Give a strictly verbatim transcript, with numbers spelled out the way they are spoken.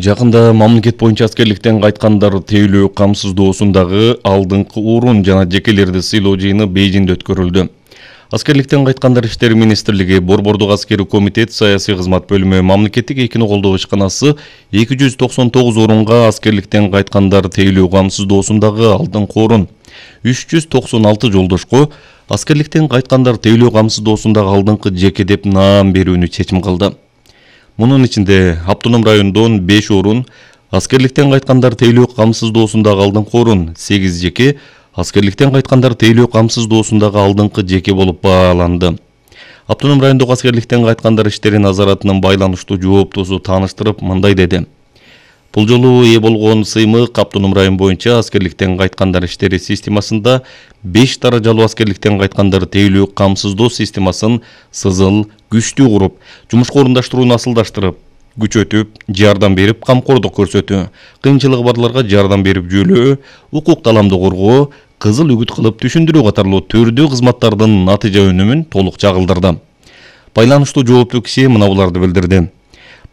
Жакында мамлекет боюнча аскерликтен кайткандар тейлөө камсыздоосундагы алдыңкы орун жана жекелерди сыйлоо жыйыны Бейжиңде өткөрүлдү. Аскерликтен кайткандар иштери министрлиги, Борбордук аскерий комитет, саясий кызмат бөлүмү, мамлекеттик экини колдоо ишканасы эки жүз токсон тогуз орунга аскерликтен кайткандар тейлөө камсыздоосундагы алдыңкы орун, үч жүз токсон алты жолдошко аскерликтен кайткандар тейлөө камсыздоосундагы алдыңкы жеке деп наам берүүнү чечим кылды. Мунун ичинде автоном райондон беш орун, аскерликтен кайткандар тейлөө камсыздоосундагы алдыңкы орун сегиз жеке, аскерликтен кайткандар тейлөө камсыздоосундагы алдыңкы жеке болуп бааланды. Автоном райондогу аскерликтен кайткандар иштери назаратынын байланыштуу жооптосу тааныштырып мындай деди. Бул жолу ээ болгон сыймык автоном район боюнча аскерликтен кайткандар иштери системасында беш даражалуу аскерликтен кайткандар тейлөө камсыздоо системасын сызыл, күчтүү куруп, жумушка орундаштырууну асылдаштырып, күчөтүп, жардам берип, камкордук көрсөтүү, кыйынчылыгы барларга жардам берип жөлөө, укук таламды коргоо, кызыл үгүт кылып түшүндүрүү катарлуу түрдүү кызматтардын натыйжа өнүмүн толук чагылдырды. Байланыштуу жооптуу киши мына буларды билдирди.